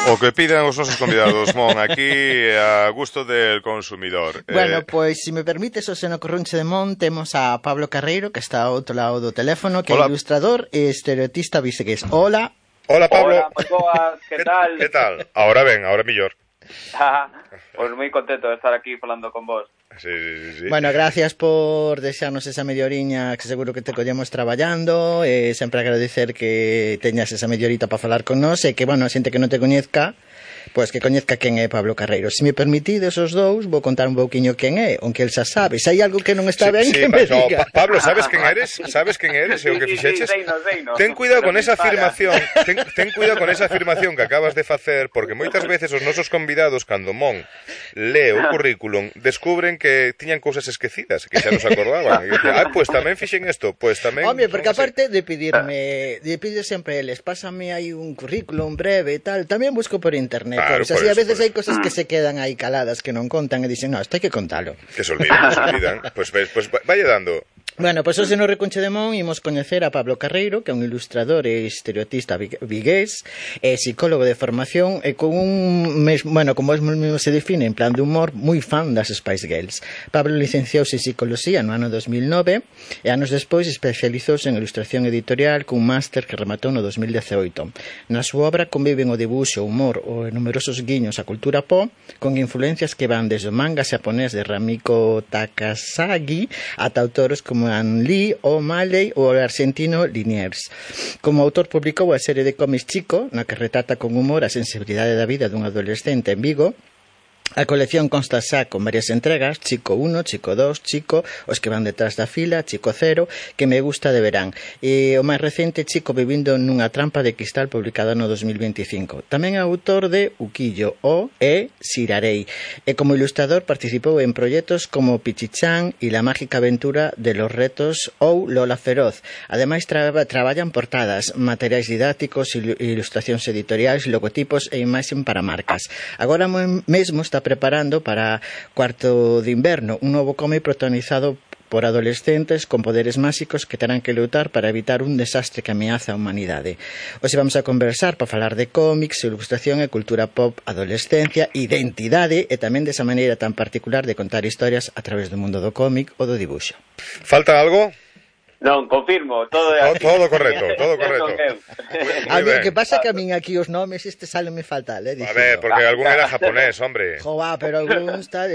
O que pidan os nosos convidados, Mon, aquí a gusto del consumidor. Bueno, pois, se me permites, o seno corrunche de Mon, temos a Pablo Carreiro, que está ao outro lado do teléfono, que é ilustrador e estereotista vigués. Hola. Hola, Pablo. Hola, moi boas, que tal? Que tal? Ahora ben, ahora mellor. Pois moi contento de estar aquí falando con vos. Sí. Bueno, gracias por deixarnos esa media oriña, que seguro que te collemos traballando, e sempre agradecer que teñas esa media horita para falar con nós, e que, bueno, a xente que non te coñezca, pois que coñezca quen é Pablo Carreiro. Se me permitides os dous, vou contar un pouquiño quen é, aunque el xa sabe. Se hai algo que non está ben, que me diga. Pablo, sabes quen eres? Sabes quen eres e o que fixeches? Ten cuidado con esa afirmación, ten cuidado con esa afirmación que acabas de facer, porque moitas veces os nosos convidados, cando Mon lee o currículum, descubren que tiñan cousas esquecidas, que xa nos acordaban. E dicen, pois tamén fixen isto, pois tamén... Home, porque aparte de pedirme, de pedir sempre eles, pásame aí un currículum breve e tal, tamén busco por internet. Claro, pois, así a veces hai cosas que se quedan aí caladas, que non contan e dicen, no, isto hai que contalo. Que se olvidan. Pois vaya dando. Bueno, pois hoxe no Recunche de Mon imos coñecer a Pablo Carreiro, que é un ilustrador e estereotista vigués, e psicólogo de formación, e con como es mesmo se define, en plan de humor, moi fan das Spice Girls. Pablo licenciouse en Psicología no ano 2009 e anos despois especializouse en ilustración editorial cun máster que rematou no 2018. Na súa obra conviven o dibuixo, o humor ou numerosos guiños á cultura pop, con influencias que van desde o manga xaponés de Ramiko Takasagi ata autores como An Lee, O'Malley ou o argentino Liniers. Como autor publicou a serie de cómics Chico, na que retrata con humor a sensibilidade da vida dun adolescente en Vigo. A colección consta xa con varias entregas, Chico 1, Chico 2, Chico, os que van detrás da fila, Chico 0, que me gusta de verán. E o máis recente, Chico vivindo nunha trampa de cristal, publicada no 2025. Tamén é autor de Uquillo o e Sirarei. E como ilustrador participou en proxectos como Pichichan e La mágica aventura de los retos ou Lola Feroz. Ademais, traballan portadas, materiais didácticos, ilustracións editoriais, logotipos e imaxen para marcas. Agora mesmo está preparando para Cuarto de Inverno, un novo cómic protagonizado por adolescentes con poderes máxicos que terán que lutar para evitar un desastre que ameaza a humanidade. Hoxe vamos a conversar para falar de cómics, ilustración e cultura pop, adolescencia, identidade e tamén desa maneira tan particular de contar historias a través do mundo do cómic ou do dibuixo. Falta algo? Non, confirmo, todo é así. Todo correcto. A mí, que pasa que a min aquí os nomes me fatal, A ver, porque algún era japonés, hombre. Joa, pero algún está...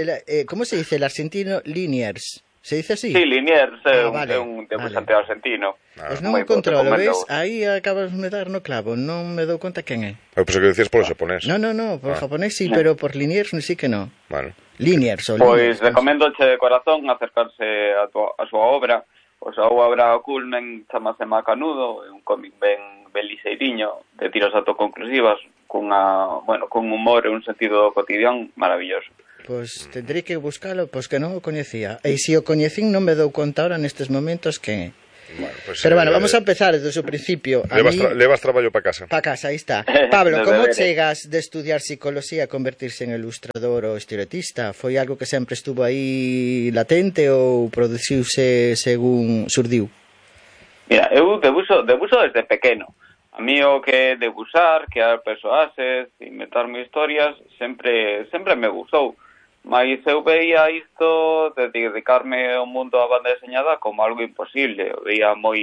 ¿Cómo se dice? El argentino Liniers. ¿Se dice así? Sí, Liniers é un dibujante argentino. Pois non o controlo, ves? Aí acabas de dar no clavo, non me dou conta quen é. Eu pensei que decías polo japonés. No, por japonés sí, pero por Liniers sí que no. Bueno. Liniers ou Liniers. Pois recomendoche de corazón acercarse a súa obra. O sea, a obra Culmen chamase Macanudo, é un cómic ben liseiriño, de tiras autoconclusivas, cun humor e un sentido cotidiano maravilloso. Pois tendrei que buscalo, pois que non o coñecía. E se o coñecín non me dou conta ahora nestes momentos que... Bueno, pues, pero bueno, vamos a empezar desde o principio. Levas traballo para casa. Para casa, aí está. Pablo, como chegas de estudiar psicología a convertirse en ilustrador ou estereotista? Foi algo que sempre estuvo aí latente ou produciuse según surdiu? Mira, eu debuxo desde pequeno. A mí o que debuxar, crear persoaxes, inventarme historias, sempre me gustou. Mais eu veía isto de dedicarme ao mundo da banda deseñada como algo imposible. Eu veía moi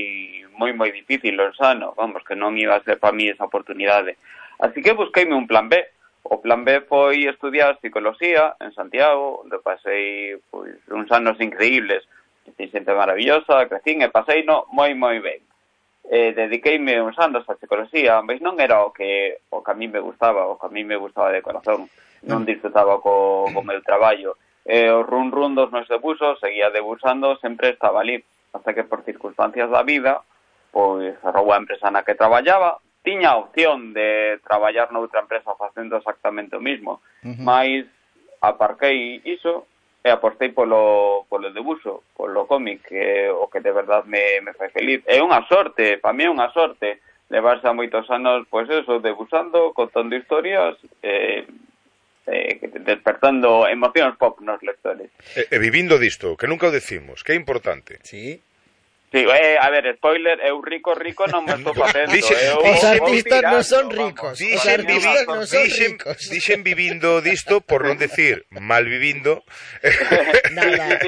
difícil, insano, vamos, que non iba a ser para mí esa oportunidade. Así que busqueime un plan B. O plan B foi estudiar psicología en Santiago, onde pasei uns anos increíbles. Fui xente maravillosa, crecín e pasei moi ben. Dediqueime uns anos a psicología, mas non era o que a mí me gustaba, de corazón. Non disfrutaba co meu traballo. O run dos meus debuxos, seguía debuxando, sempre estaba ali. Hasta que por circunstancias da vida, pois arrou a empresa na que traballaba, tiña a opción de traballar noutra empresa facendo exactamente o mismo, mas aparquei iso e apostei polo debuxo, polo cómic, que o que de verdad me fai feliz. É unha sorte, para mí é unha sorte, levarse a moitos anos, pois eso, debuxando, contando historias, despertando emocións pop nos lectores. E vivindo disto, que nunca o decimos, que é importante. Sí. Sí, a ver, spoiler, eu rico non me estou facendo. Os artistas non son ricos. Os artistas non son ricos. Dixen vivindo disto, por non decir mal vivindo. Nada,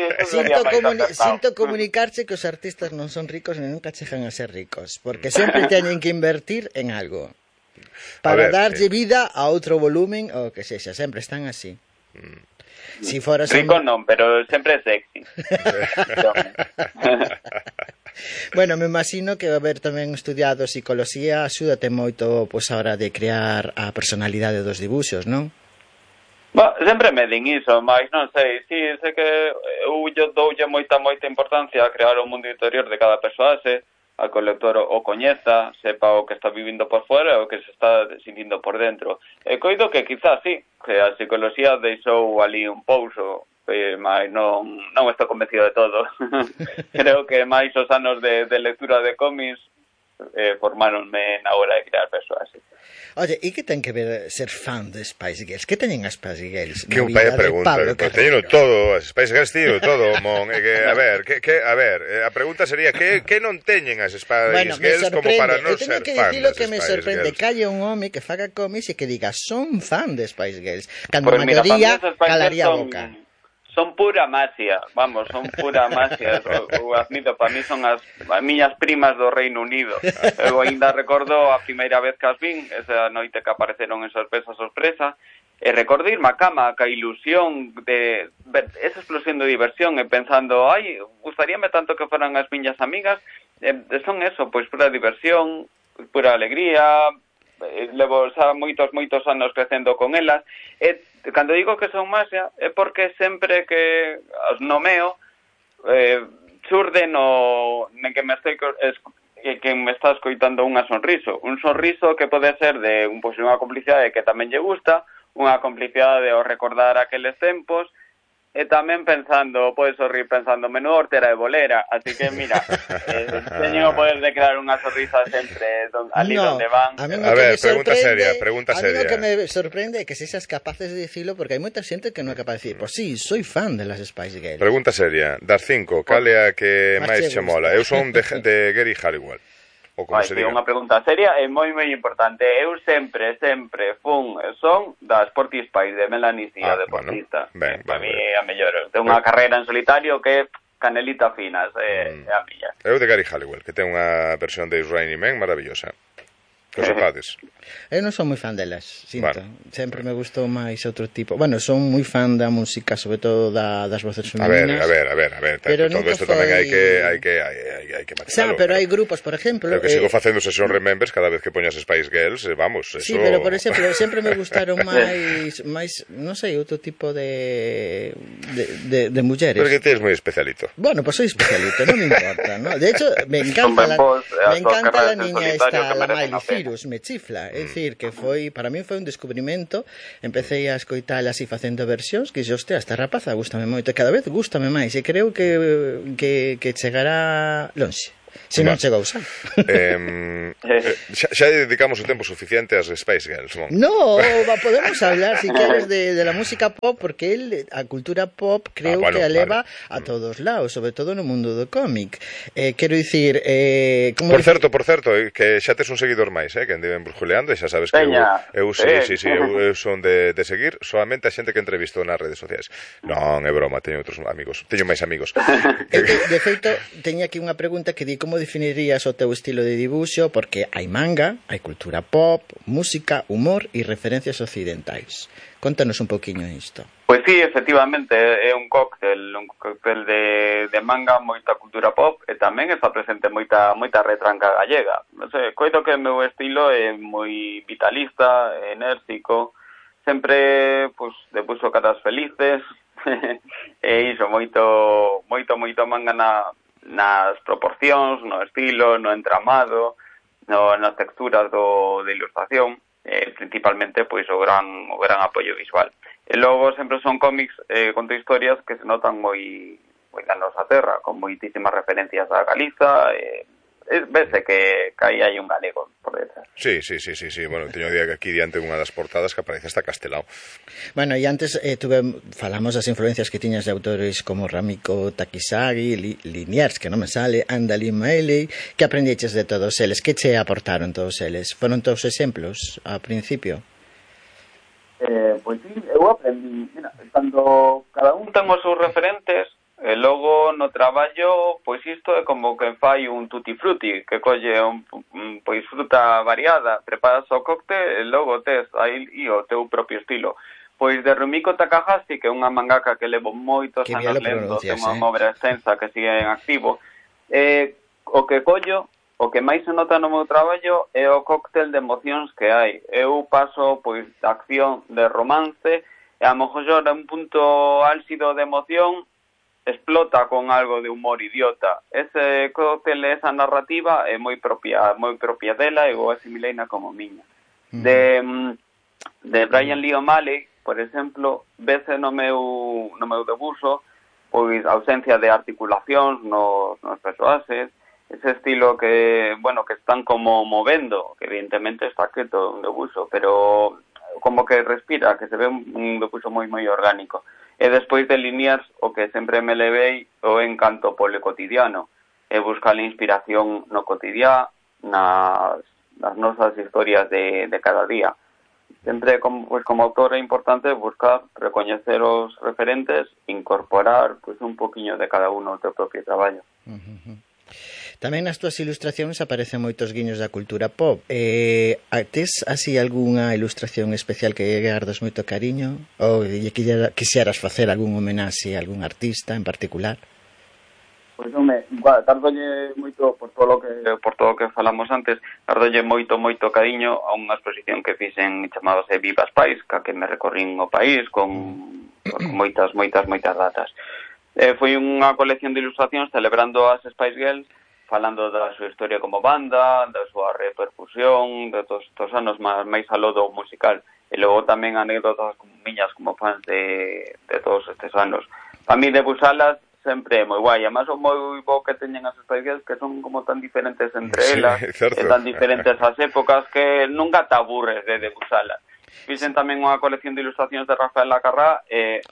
sinto comunicarche que os artistas non son ricos e nunca chegan a ser ricos, porque sempre teñen que invertir en algo para darlle vida a outro volumen ou que sexa, sempre están así. Si foras rico non, pero sempre é sexy. Bueno, me imagino que haber tamén estudiado psicología axúdate moito pois a hora de crear a personalidade dos dibuxos, non? Sempre me din iso, mas non sei, sei que eu doulle moita importancia a crear o mundo interior de cada persoaxe, a que o lector o coñeza, sepa o que está vivindo por fora e o que se está sintindo por dentro. E coido que quizás sí, que a psicología deixou ali un pouso, mas non estou convencido de todo. Creo que máis os anos de lectura de cómics formáronme na hora de crear persoas. Oye, e que ten que ver ser fan de Spice Girls? Que teñen as Spice Girls? Que un paia pregunta, teñen todo, as Spice Girls teñen todo, mon, a ver, a pregunta sería que non teñen as Spice Girls como para non ser fan das Spice Girls? Eu teño que dicilo que me sorprende que haya un home que faga cómics e que diga son fan de Spice Girls, cando a maioría calaría a boca. Son pura magia, son pura magia. O admito, para mí son as miñas primas do Reino Unido. Eu ainda recordo a primeira vez que as vin, esa noite que apareceron en sorpresa, e recordo irme a cama ca ilusión de ver esa explosión de diversión e pensando, gustaríame tanto que fueran as miñas amigas. Son eso, pois pura diversión, pura alegría. Levo xa moitos anos crecendo con elas. Cando digo que son magia é porque sempre que os nomeo xurde nen que me está escoitando un sorriso que pode ser de unha complicidade que tamén lle gusta, unha complicidade ao recordar aqueles tempos, e tamén pode sorrir pensando menudo hortera de bolera, así que mira, teño o poder de crear unha sonrisa sempre ali donde van. A ver, pregunta seria. A mí o que me sorprende é que sexas capaces de dicilo, porque hai moita xente que non é capaz de dicir, pois sí, soy fan de las Spice Girls. Pregunta seria, das 5, cal é a que máis che mola? Eu son de Gary Halliwell. Unha pregunta seria e moi importante. Eu sempre son da Sporty Spice de Melanie C, a deportista. Para mí é a mellor. Ten unha carreira en solitario que canelita finas, é a miña. Eu de Gary Halliwell, que ten unha versión de Is Raining Men maravillosa. Que sepades. Eu non son moi fan delas, sinto. Sempre me gustou máis outro tipo. Bueno, son moi fan da música, sobre todo das voces femininas. A ver. Pero todo isto tamén hai que matizalo. Pero hai grupos, por exemplo... Pero que sigo facendo sesión Remembers cada vez que poñas Spice Girls, vamos, eso... Sí, pero por exemplo, sempre me gustaron máis, non sei, outro tipo de mulleres. Pero que tens moi especialito. Bueno, pues soy especialito, non me importa, ¿no? De hecho, me encanta la niña esta, la Miley Cyrus, me chifla. É dicir, que para mí foi un descubrimento. Empecé a escoitala así facendo versións, que hostia, esta rapaza gústame moito, e cada vez gústame máis, e creo que chegará lonxe. Se non chegou xa. Xa dedicamos o tempo suficiente ás Spice Girls, non? No, podemos hablar, si queres, de la música pop, porque a cultura pop creo que eleva a todos lados, sobre todo no mundo do cómic. Quero dicir... Por certo, que xa tes un seguidor máis, que andiven brusculeando, e xa sabes que eu son de seguir solamente a xente que entrevisto nas redes sociais. Non, é broma, teño outros amigos, teño máis amigos. De feito, teño aquí unha pregunta que di como definirías o teu estilo de dibuixo, porque hai manga, hai cultura pop, música, humor e referencias occidentais. Contanos un poquinho isto. Pois sí, efectivamente, é un cóctel de manga, moita cultura pop, e tamén está presente moita retranca gallega. Non sei, coito que o meu estilo é moi vitalista, enérxico, sempre, debuxo caras felices, e iso, moito manga nas proporcións, no estilo, no entramado, nas texturas de ilustración, principalmente pois o gran apoio visual. E logo sempre son cómics conto historias que se notan moi da nosa terra, con moitísimas referencias a Galiza, vese que aí hai un galego por detrás. Sí. Bueno, teño aquí diante unha das portadas que aparece hasta Castelao. Bueno, e antes falamos das influencias que tiñas de autores como Ramiko Takisagi, Liniers, que non me sale, Andalin Maeley. Que aprendiches de todos eles? Que che aportaron todos eles? Foron todos exemplos ao principio? Pois sí, eu aprendí, mira, cando cada un ten os seus referentes, e logo no traballo, pois isto é como que fai un tutti frutti, que colle pois fruta variada, preparas o cóctel e logo tes aí o teu propio estilo. Pois de Rumiko Takahashi, que é unha mangaka que levo moitos anos lendo, ten unha obra extensa que sigue en activo, o que collo, o que máis se nota no meu traballo é o cóctel de emocións que hai. Eu paso, pois, de acción, de romance, e a lo mejor un punto álxido de emoción explota con algo de humor idiota. Ese cóctel, esa narrativa é moi propia dela e vou asimileina como miña. De Brian Lee O'Malley, por exemplo, vese no meu debuxo, pois, ausencia de articulacións nos persoaxes, ese estilo que, bueno, que están como movendo, que evidentemente está quieto un debuxo, pero como que respira, que se ve un debuxo moi orgánico. E despois de Liniers, o que sempre me levei o encanto polo cotidiano, e buscar a inspiración no cotidiá, nas nosas historias de cada día. Sempre, como autor, é importante buscar, recoñecer os referentes, incorporar pois un poquinho de cada uno ao teu propio traballo. Tamén nas túas ilustracións aparecen moitos guiños da cultura pop. Tes así algunha ilustración especial que gardas moito cariño? Ou quixeras facer algún homenaxe a algún artista en particular? Pois gardolle moito por todo o que falamos antes, gardolle moito cariño a unha exposición que fixen chamábase Viva Spice, que me recorrín o país con moitas datas. Foi unha colección de ilustracións celebrando as Spice Girls, falando da súa historia como banda, da súa repercusión, de todos estos anos máis aló do musical, e logo tamén anécdotas como miñas como fans de todos estes anos. Para mí debuxalas sempre é moi guai, además o moi bo que teñen as Spice Girls, que son como tan diferentes entre elas, e tan diferentes as épocas, que nunca te aburres de debuxalas. Fixen tamén unha colección de ilustracións de Rafael Lacarrá e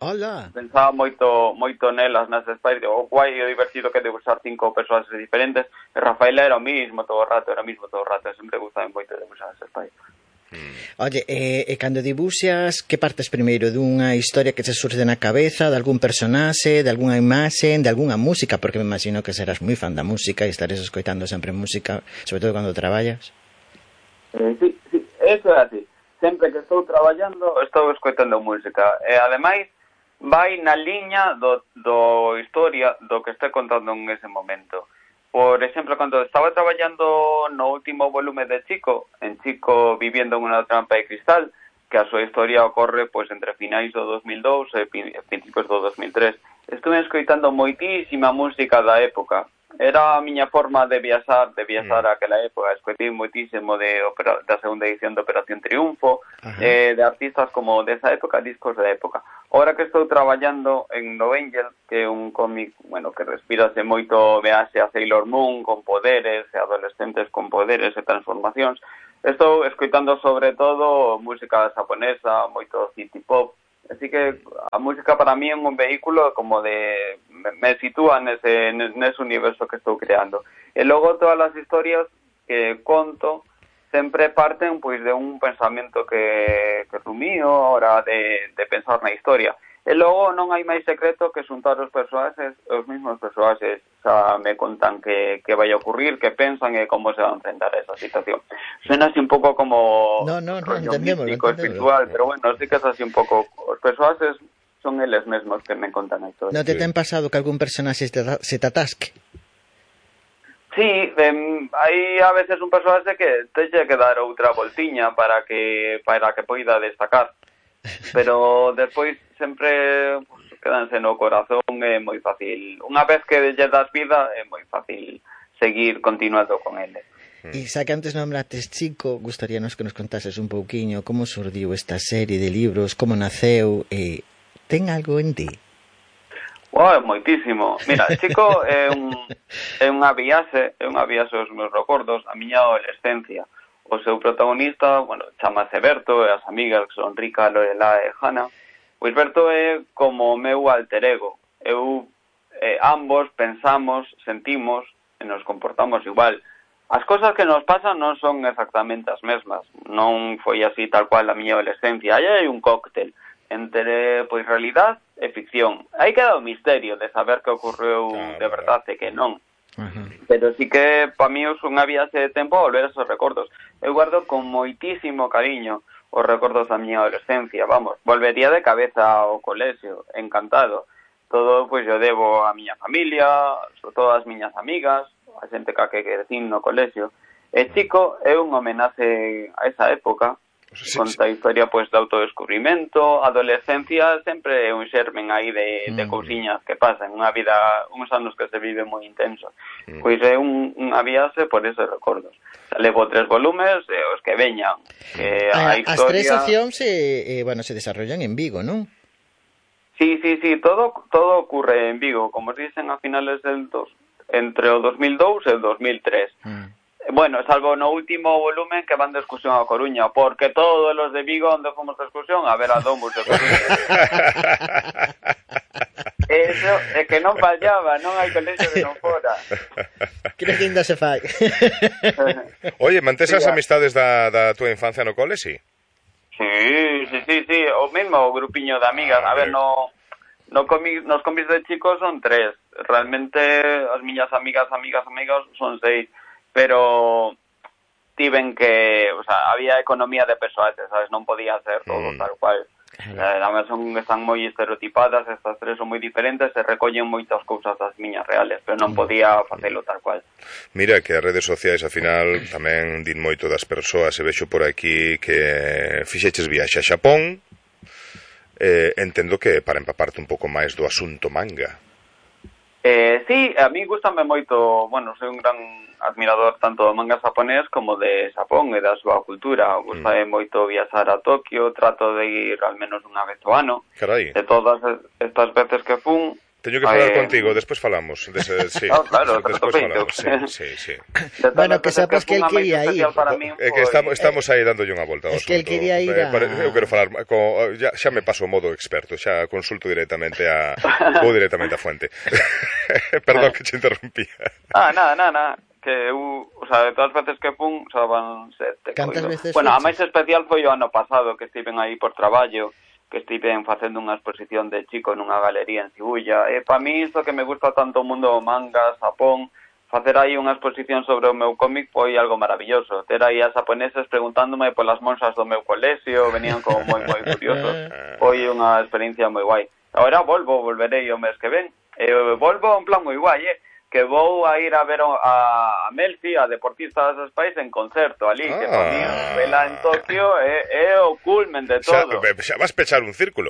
pensaba moito nelas nas Spice, o guai e o divertido que debuxar 5 persoas diferentes, e Rafael era o mismo todo o rato, sempre gustaba moito debuxar as Spice. Oye, e cando dibuxas, que partes primeiro dunha historia que se surge na cabeza, de algún personaxe, de algunha imaxe, de algunha música, porque me imagino que serás moi fan da música e estares escoitando sempre música, sobre todo cando traballas? Sí, eso é así. Sempre que estou traballando, estou escoitando música. E, ademais, vai na liña do historia do que estou contando en ese momento. Por exemplo, cando estaba traballando no último volume de Chico, en Chico viviendo en unha trampa de cristal, que a súa historia ocorre pois entre finais do 2002 e principios do 2003, estuve escoitando moitísima música da época. Era a miña forma de viaxar aquela época. Escoitei moitísimo da segunda edición de Operación Triunfo, de artistas como desa época, discos da época. Ahora que estou traballando en No Angel, que é un cómic, bueno, que respirase moito viaxe a Sailor Moon con poderes, e adolescentes con poderes e transformacións, estou escoitando sobre todo música japonesa, moito city pop. Así que a música para mí é un vehículo como de... me sitúa nese universo que estou creando. E logo todas as historias que conto sempre parten pois de un pensamento que rumío a hora de pensar na historia. E logo non hai máis secreto que xuntar os mesmos persoaxes xa me contan que vai a ocurrir, que pensan e como se van a enfrentar a esa situación. Suena así un pouco como místico, espiritual, pero bueno, sí que es así un pouco. Os persoaxes son eles mesmos que me contan a historia. Non te ten pasado que algún personaxe se te atasque? Sí, hai a veces un personaxe que teñe que dar outra voltiña para que poida destacar. Pero despois sempre quedanse no corazón, é moi fácil. Unha vez que lle das vida, é moi fácil seguir continuando con ele. E xa que antes nombrates Chico, gustaríanos que nos contases un pouquiño como surdiu esta serie de libros, como naceu, e ten algo en ti? Moitísimo. Mira, chico, é unha viaxe aos meus recordos, a miña adolescencia. O seu protagonista, chamase Berto, e as amigas que son Rica, Lorela e Hanna. Pois Berto é como o meu alter ego. Ambos pensamos, sentimos e nos comportamos igual. As cosas que nos pasan non son exactamente as mesmas. Non foi así tal cual a miña adolescencia. Aí hai un cóctel entre, pois, realidade e ficción. Aí queda o misterio de saber que ocorreu de verdade e que non. Pero sí que, para mí, é unha viaxe de tempo a volver a esos recordos. Eu guardo con moitísimo cariño os recordos da miña adolescencia. Volvería de cabeza ao colexio, encantado. Todo, pois, eu debo a miña familia, sobre todo as miñas amigas, a xente que crecín no colexio. E chico é un homenaxe a esa época. Conta a historia, pois, de autodescubrimento. A adolescencia sempre é un xermen aí de cousiñas que pasan, unha vida, uns anos que se vive moi intenso. Pois é unha viaxe por esos recordos. Levo 3 volumes e os que veñan. As 3 accións se desarrollan en Vigo, non? Sí, todo ocurre en Vigo, como dicen a finales entre o 2002 e o 2003. Salvo no último volumen que van de excursión a Coruña, porque todos los de Vigo onde fomos de excursión a ver a Domus de Coruña. Eso é que non fallaba, non hai colexio que non fora. Creo que ainda se fai. Oye, mantés as amistades da tua infancia no cole, si? Sí, o mesmo grupiño de amigas. A ver, nos comis de chicos son 3. Realmente as miñas amigas son 6. Pero tiven que, había economía de persoaxe, sabes, non podía ser todo tal cual. Además están moi estereotipadas, estas 3 son moi diferentes e recollen moitas cousas das miñas reales, pero non podía facelo tal cual. Mira que as redes sociais, ao final, tamén din moito das persoas, e vexo por aquí que fixeches viaxe a Xapón, entendo que para empaparte un pouco máis do asunto manga. Sí, a mí gustame moito, soy un gran admirador tanto do manga japonés como de Xapón e da súa cultura. Gustame moito viaxar a Tokio, trato de ir al menos unha vez ao ano. Carai. De todas estas veces que fun... Teño que falar contigo, despois falamos. Sí. Claro, despois falamos. Sí. Bueno, que sapas que el quería ir. É que estamos aí dándolle unha volta ao asunto. Es que el quería ir Eu quero falar, xa me paso o modo experto, xa consulto directamente vou directamente a fuente. Perdón que te interrumpía. Nada. Que eu, de todas as veces que fun, van 7. Cantas veces? A máis especial foi o ano pasado, que estiven aí por traballo, que estiven facendo unha exposición de chico nunha galería en Shibuya. E para mí, isto que me gusta tanto o mundo do manga, Japón, facer aí unha exposición sobre o meu cómic foi algo maravilloso. Ter aí as japoneses preguntándome polas monxas do meu colexio, venían como moi curiosos. Foi unha experiencia moi guai. Agora volverei o mes que ven. Volvo en plan moi guai, que vou a ir a ver a Melfi, a deportista das país, en concerto ali, que para mí vela en Tokio é o culmen de todo. Xa vas pechar un círculo.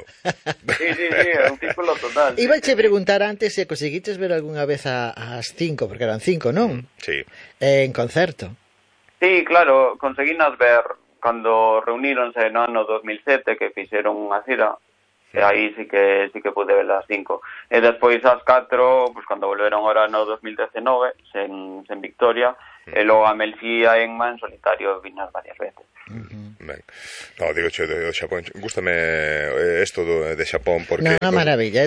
Sí, é un círculo total. Iba a preguntar antes se conseguiches ver algunha vez as 5, porque eran 5, non? Sí. En concerto. Sí, claro, conseguinas ver cando reuníronse no ano 2007, que fixeron unha xira. E aí sí que pude ver as 5. E despois as 4, pues, cando volveron ahora no 2019, sen Victoria, e logo a Melfía en Man solitario vinas varias veces. Ben. No, digo, de Xapón, gústame isto de Xapón porque... Unha maravilla,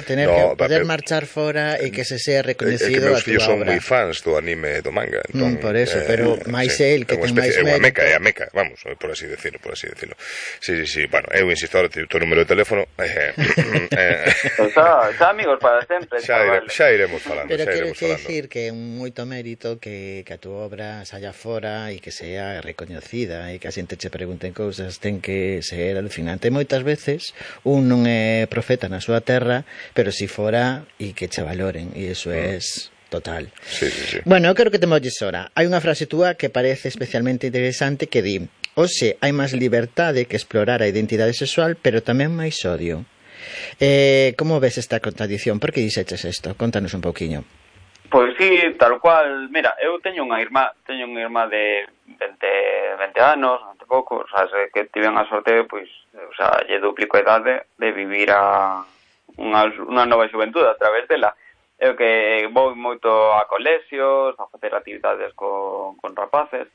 poder marchar fora e que se sea recoñecido a túa obra. É que meus fillos son moi fans do anime e do manga. Entón, por eso, pero máis el que ten máis mérito. É a meca, vamos, por así decirlo. Sí, bueno, eu insisto ahora o número de teléfono. Xa amigos para sempre. Xa iremos falando. Pero quero dicir que é moito mérito que a túa obra saia fora e que sea recoñecida e que a xente che pregunten cousas, ten que ser alucinante. Moitas veces un non é profeta na súa terra, pero si fora e que che valoren, e iso é total. Sí. Bueno, eu quero que te molles ora. Hai unha frase túa que parece especialmente interesante que di: hoxe hai máis liberdade que explorar a identidade sexual, pero tamén máis odio. Como ves esta contradición? Por que dixeches isto? Contanos un pouquiño. Pois sí, tal cual. Mira, eu teño unha irmá de 20 anos, ante pouco, que tiven a sorte, pois, lle duplico a idade de vivir unha nova xuventude a través dela. Eu que vou moito a colexios, a facer actividades con rapaces,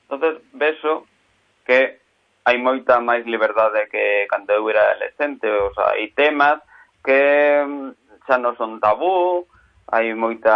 entonces vexo que hai moita máis liberdade que cando eu era adolescente, o sea, hai temas que xa non son tabú, hai moita